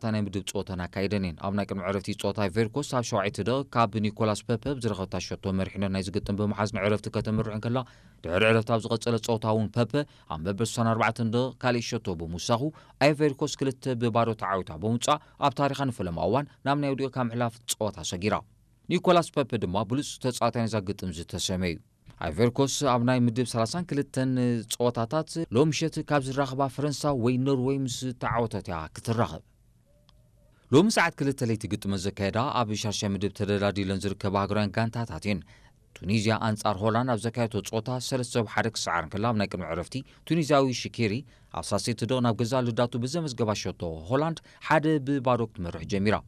እታ ናይ ምድብ ጸወተን ኣካይደን እየን። ኣብ ናይ ቅድሚ ዕረፍቲ ጸወታ ኣይቨርኮስ ኣብ ሸውዓይቲ ደቂቕ ካብ ኒኮላስ ፐፐ ብዝረኸብታ ሸቶ መሪሕነት ናይ ዝግጥም ብምሓዝ ንዕረፍቲ ከተምርሕ እንከላ፣ ድሕሪ ዕረፍቲ ኣብ ዝቐጸለ ጸወታ እውን ፐፐ ኣብ መበል ስሳን ኣርባዕተን ደቂቕ ካልእ ሸቶ ብምውሳኹ፣ ኣይቨርኮስ ክልተ ብባዶ ተዓዊታ ብምውጻእ ኣብ ታሪኻ ንፈለማ እዋን ናብ ናይ ወዲቑካ ምሕላፍ ጸወታ ሰጊራ። ኒኮላስ ፐፐ ድማ ብሉጽ ተጻዋታይ ናይዛ ግጥም ዝተሰመዩ። ኣይቨርኮስ ኣብ ናይ ምድብ ሰላሳን ክልተን ጸወታታት ሎምሸት ካብ ዝራኸባ ፈረንሳ ወይ ኖርወይ ምስ ተዓወተት እያ ክትራኸብ። ሎሚ ሰዓት ክልተ ለይቲ ግጥመ ዘካየዳ ኣብ ሻሻይ ምድብ ተደላዲለን ዝርከባ ሃገራውያን ጋንታታት እየን። ቱኒዝያ ኣንጻር ሆላንድ ኣብ ዘካየደቶ ጸወታ ሰለስተ ብ ሓደ ክሰዓር እንከላ፣ ኣብ ናይ ቅድሚ ዕረፍቲ ቱኒዝያዊ ሽኬሪ ኣብ ሳሴት ደቕ ናብ ገዛእ ልዳቱ ብዘመዝገባ ሸቶ ሆላንድ ሓደ ብባዶ ክትመርሕ ጀሚራ።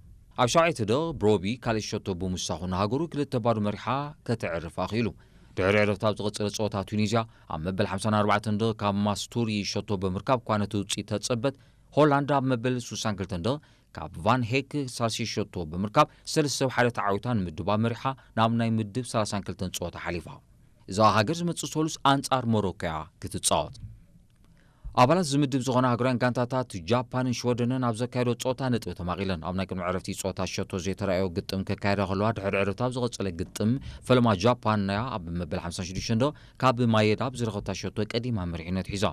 ኣብ ሻውዓይቲ ደቕ ብሮቢ ካልእ ሸቶ ብምውሳኹ ንሃገሩ ክልተ ባዶ መሪሓ ከተዕርፍ ኣኽኢሉ። ድሕሪ ዕረፍቲ ኣብ ዝቐጸለ ጸወታ ቱኒዝያ ኣብ መበል ሓምሳን ኣርባዕተን ደቕ ካብ ማስቱሪ ሸቶ ብምርካብ እኳ ነቲ ውጽኢት ተጸበት፣ ሆላንድ ኣብ መበል ስሳን ክልተን ደቕ ካብ ቫን ሄክ ሳልሲ ሸቶ ብምርካብ ሰለስተ ብ ሓደ ተዓዊታ ንምድባ መሪሓ ናብ ናይ ምድብ ሰላሳን ክልተን ጸወታ ሓሊፋ። እዛ ሃገር ዝመጽእ ሰሉስ ኣንጻር ሞሮኮ እያ ክትጻወት። ኣባላት ዝምድብ ዝኾና ሃገራውያን ጋንታታት ጃፓንን ሽወደንን ኣብ ዘካየዶ ጸወታ ነጥቢ ተማቒለን። ኣብ ናይ ቅድሚ ዕረፍቲ ጸወታ ሸቶ ዘይተራእዮ ግጥም ከካየዳ ከለዋ፣ ድሕሪ ዕረፍቲ ኣብ ዝቐጸለ ግጥም ፈለማ ጃፓን እያ ኣብ መበል ሓምሳን ሽዱሽተን ደቕ ካብ ማየዳ ብዝረኸብታ ሸቶ ቀዲማ መሪሕነት ሒዛ።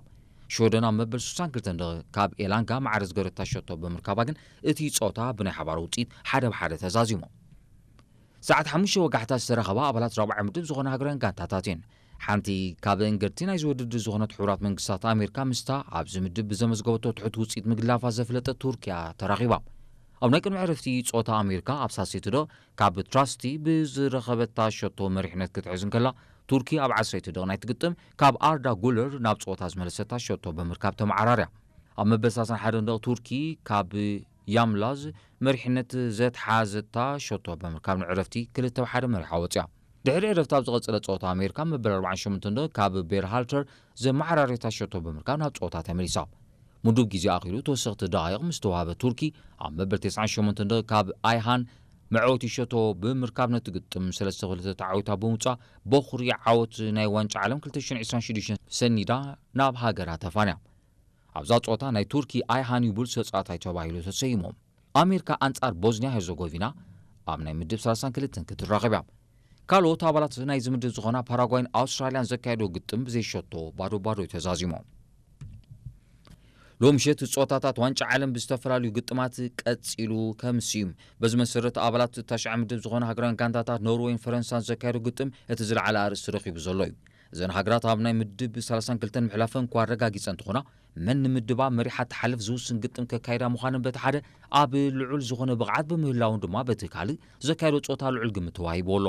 ሽወደን ኣብ መበል ስሳን ክልተን ደቕ ካብ ኤላንጋ ማዕረ ዝገረታ ሸቶ ብምርካባ ግን እቲ ጸወታ ብናይ ሓባር ውጽኢት ሓደ ብ ሓደ ተዛዚሙ። ሰዓት ሓሙሽተ ወጋሕታ ዝተረኸባ ኣባላት ራብዓይ ምድብ ዝኾና ሃገራውያን ጋንታታት እየን። ሓንቲ ካብ እንገድቲ ናይዚ ውድድር ዝኾነት ሕቡራት መንግስታት ኣሜሪካ ምስታ ኣብዚ ምድብ ብዘመዝገበቶ ትሑት ውፅኢት ምግላፋ ዘፍለጠት ቱርኪያ ተራኺባ። ኣብ ናይ ቅድሚ ዕረፍቲ ጸወታ ኣሜሪካ ኣብ ሳሴትዶ ካብ ትራስቲ ብዝረኸበታ ሸቶ መሪሕነት ክትሕዝ እንከላ፣ ቱርኪ ኣብ ዓሰርተ ደቕ ናይ ትግጥም ካብ ኣርዳ ጉለር ናብ ጸወታ ዝመለሰታ ሸቶ ብምርካብ ተመዓራርያ። ኣብ መበል ሰላሳን ሓደን ደቕ ቱርኪ ካብ ያምላዝ መሪሕነት ዘትሓዘታ ሸቶ ብምርካብ ንዕረፍቲ ክልተ ብ ሓደ መሪሓ ወጽያ። ድሕሪ ዕረፍቲ ኣብ ዝቐጸለ ጸወታ ኣሜሪካ መበል ኣርባዓን ሸሞንተን ደቕ ካብ ቤርሃልተር ዘመዓራርየታ ሸቶ ብምርካብ ናብ ጸወታ ተመሊሳ። ምዱብ ግዜ ኣኺሉ ተወሰኽቲ ደቓይቕ ምስ ተዋህበ ቱርኪ ኣብ መበል ተስዓን ሸሞንተን ደቕ ካብ ኣይሃን መዕወቲ ሸቶ ብምርካብ ነቲ ግጥም ሰለስተ ክልተ ተዓዊታ ብምውጻእ በኹሪ ዓወት ናይ ዋንጫ ዓለም ክልተ ሽሕን ዕስራን ሽዱሽተን ሰኒዳ ናብ ሃገራ ተፋንያ። ኣብዛ ጸወታ ናይ ቱርኪ ኣይሃን እዩ ብሉጽ ተጻዋታይ ተባሂሉ ተሰይሙ። ኣሜሪካ ኣንጻር ቦዝንያ ሄርዘጎቪና ኣብ ናይ ምድብ ሰላሳን ክልተን ክትራኸብ እያ። ካልኦት ኣባላት ናይዚ ምድብ ዝኾና ፓራጓይን ኣውስትራልያን ዘካየዶ ግጥም ብዘይሸቶ ባዶ ባዶ እዩ ተዛዚሙ። ሎሚ ምሸት ጸወታታት ዋንጫ ዓለም ብዝተፈላለዩ ግጥማት ቀጺሉ ከምስዩ። በዚ መሰረት ኣባላት ታሽዓ ምድብ ዝኾና ሃገራውያን ጋንታታት ኖርወይን ፈረንሳን ዘካየዶ ግጥም እቲ ዝለዓለ ኣርእስቲ ረኺቡ ዘሎ እዩ። እዘን ሃገራት ኣብ ናይ ምድብ ሰላሳን ክልተን ምሕላፈን እኳ ኣረጋጊጸ እንትኾና፣ መን ንምድባ መሪሓ ትሓልፍ ዝውስን ግጥም ከካይዳ ምዃነን በቲ ሓደ ኣብ ልዑል ዝኾነ ብቕዓት ብምህላውን ድማ በቲ ካልእ ዘካየዶ ጸወታ ልዑል ግምት ተዋሂብዎ ኣሎ።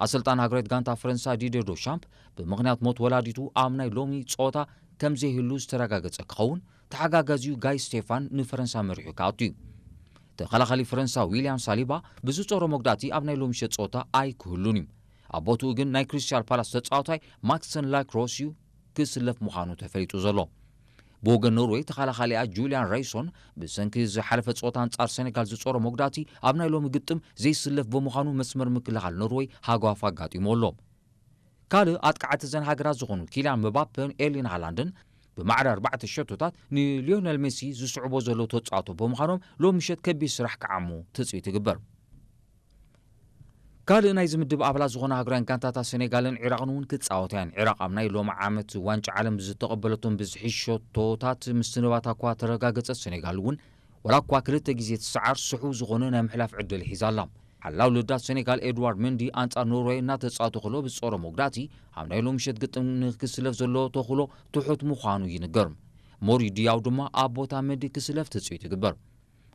ኣሰልጣን ሃገራዊት ጋንታ ፈረንሳ ዲድየ ዶሻምፕ ብምኽንያት ሞት ወላዲቱ ኣብ ናይ ሎሚ ጸወታ ከም ዘይህሉ ዝተረጋገጸ ክኸውን፣ ተሓጋጋዚኡ ጋይ ስቴፋን ንፈረንሳ መሪሑ ክኣቱ እዩ። ተኸላኻሊ ፈረንሳ ዊልያም ሳሊባ ብዝጾሮ መጉዳእቲ ኣብ ናይ ሎሚ ምሸት ጸወታ ኣይክህሉን እዩ። ኣብ ቦትኡ ግን ናይ ክሪስታል ፓላስ ተጻዋታይ ማክሰን ላክሮስ እዩ ክስለፍ ምዃኑ ተፈሊጡ ዘሎ። ብወገን ኖርወይ ተኸላኻሊኣ ጁልያን ራይሶን ብሰንኪ ዝሓለፈ ጸወታ ኣንጻር ሴኔጋል ዝጾሮ መጉዳእቲ ኣብ ናይ ሎሚ ግጥም ዘይስለፍ ብምዃኑ መስመር ምክልኻል ኖርወይ ሃጓፍ ኣጋጢሞ ኣሎ። ካልእ ኣጥቃዕቲ እዘን ሃገራት ዝኾኑ ኪልያን ምባፔን ኤርሊን ሃላንድን ብማዕረ ኣርባዕተ ሸቶታት ንሊዮነል ሜሲ ዝስዕቦ ዘለዉ ተጻወቶ ብምዃኖም ሎሚ ምሸት ከቢድ ስራሕ ክዓሙ ትጽቢት ይግበር። ካልእ ናይ ዝምድብ ኣባላት ዝኾና ሃገራውያን ጋንታታት ሴኔጋልን ዒራቕን እውን ክጻወታ እየን። ዒራቕ ኣብ ናይ ሎሚ ዓመት ዋንጫ ዓለም ዝተቐበለቶም ብዝሒ ሸቶታት ምስትንባታ እኳ ተረጋገጸት፣ ሴኔጋል እውን ዋላ እኳ ክልተ ግዜ ትሰዓር ስሑው ዝኾነ ናይ ምሕላፍ ዕድል ሒዛ ኣላ። ሓላው ልዳት ሴኔጋል ኤድዋርድ መንዲ ኣንጻር ኖርወይ እናተጻወተ ከሎ ብዝጾሮ መጉዳእቲ ኣብ ናይ ሎሚ ምሸት ግጥም ንክስለፍ ዘሎ ተኽእሎ ትሑት ምዃኑ ይንገር። ሞሪ ዲያው ድማ ኣብ ቦታ መንዲ ክስለፍ ትጽቢት ይግበር።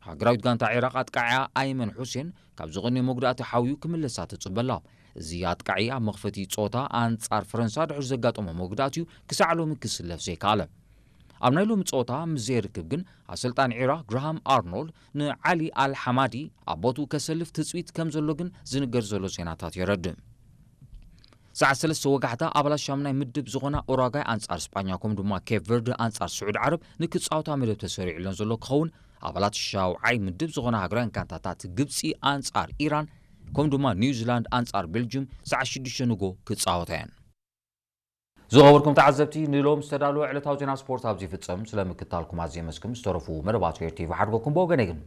ሃገራዊት ጋንታ ዒራቕ ኣጥቃዒያ ኣይመን ሑሴን ካብ ዝቐንየ መጉዳእቲ ሓውዩ ክምለሳ ትጽበ ኣላ። እዚ ኣጥቃዒ ኣብ መኽፈቲ ጸወታ ኣንጻር ፈረንሳ ድሕሪ ዘጋጠሞ መጉዳእቲ እዩ ክሳዕ ሎሚ ክስለፍ ዘይከኣለ። ኣብ ናይ ሎሚ ጸወታ ምስ ዘይርክብ ግን ኣሰልጣኒ ዒራቕ ግራሃም ኣርኖልድ ንዓሊ ኣል ሓማዲ ኣብ ቦትኡ ከሰልፍ ትጽቢት ከም ዘሎ ግን ዝንገር ዘሎ ዜናታት የረድእ። ሰዓት ሰለስተ ወጋሕታ ኣባላት ሻምናይ ምድብ ዝኾና ኡራጓይ ኣንጻር ስጳኛ ከምኡ ድማ ኬፕ ቨርደ ኣንጻር ስዑድ ዓረብ ንክጻወታ መደብ ተሰሪዑለን ዘሎ ክኸውን፣ ኣባላት ሻውዓይ ምድብ ዝኾና ሃገራውያን ጋንታታት ግብጺ ኣንጻር ኢራን ከምኡ ድማ ኒውዚላንድ ኣንጻር ቤልጅም ሰዓት ሽዱሽተ ንጎ ክጻወታ እየን። ዝኸበርኩም ተዓዘብቲ፣ ንሎም ዝተዳለወ ዕለታዊ ዜና ስፖርት ኣብዚ ይፍጸም። ስለምክታልኩም ኣዝየ የመስግን። ዝተረፉ መደባት ኤር ቲ ቪ ሓድጎኩም ብወገነይ ግን